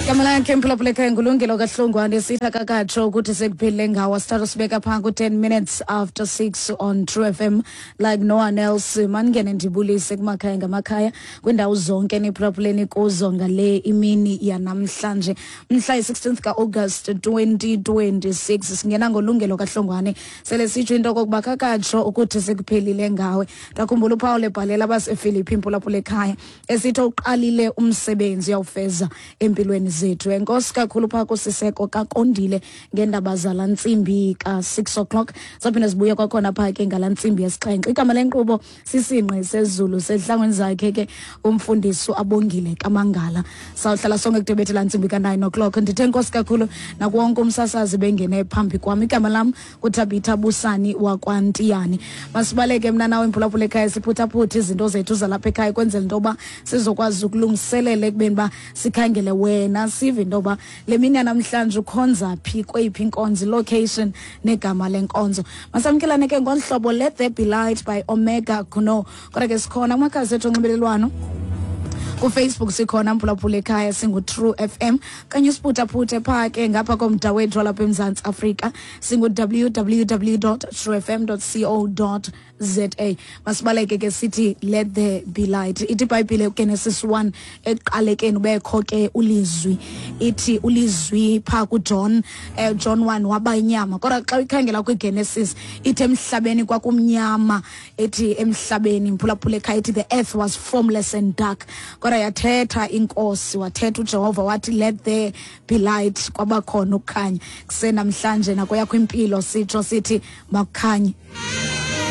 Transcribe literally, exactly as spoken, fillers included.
Igama lakhe, mphulaphula ekhaya, nguLungelo kaHlongwane. Sithi akakatsho ukuthi sekuphelile ngawo. Sithatha sibeka phaa ku-ten minutes after six on True F M like no one else. Mandingene ndibulise kumakhaya ngamakhaya, kwiindawo zonke niphulaphuleni kuzo ngale imini yanamhlanje, mhla yi-sixteenth ka-August twenty twenty-six. Singena ngoLungelo kaHlongwane, sele sitsho into okokuba kakatsho ukuthi sekuphelile ngawe. Ndakhumbula uPaul ebhalela abaseFilipi, imphulaphula ekhaya, esithi uqalile umsebenzi, uyawufeza empilweni zethu. Enkosi kakhulu phaa kuSiseko kaKondile ngeendaba zalaa ntsimbi ka-six o'clock. Saphinde sibuye kwakhona phaa ke ngalaa ntsimbi yesixhenxe. Igama lenkqubo siSingqi Sezulu, sehlangweni zakhe ke umfundisi Abongile Kamangala. Sawuhlala sonke kudebethe laa ntsimbi ka-nine o'clock. Ndithe enkosi kakhulu nakuwonke umsasazi bengene phambi kwam. Igama lam kuThabitha Busani wakwaNtiyani. Masibaleke mna nawe, mphulaphula ekhaya, siphuthaphuthe izinto zethu zalapha ekhaya, kwenzela into yoba sizokwazi ukulungiselela ekubeni uba sikhangele wena, sive into yoba le mini yanamhlanje ukhonza phi, kweyiphi inkonzo, location negama lenkonzo. Masamkelane ke ngolu hlobo, "Let There Be Light" by Omega Kuno. Kodwa ke sikhona kumakhasi ethu onxibelelwano. KuFacebook sikhona, mphulaphula ekhaya, singu-True F M, kanye usiphuthaphuthe phaa ke ngapha komda wethu walapha eMzantsi Afrika, singu W W W true F M co za. Masibaleke ke, sithi "Let There Be Light". Ithi iBhayibhile kuGenesis one, ekuqalekeni ubekho ke ulizwi. Ithi ulizwi phaa kuJohn, eh, John one, waba inyama. Kodwa xa uyikhangela kwiGenesis, ithi emhlabeni kwakumnyama. Ethi emhlabeni, mphulaphula ekhaya, ithi the earth was formless and dark. Kodwa yathetha iNkosi, wathetha uJehova, wathi, "Let there be light." Kwabakhona ukukhanya. Kusenamhlanje nakweyakho impilo sitsho sithi makukhanye.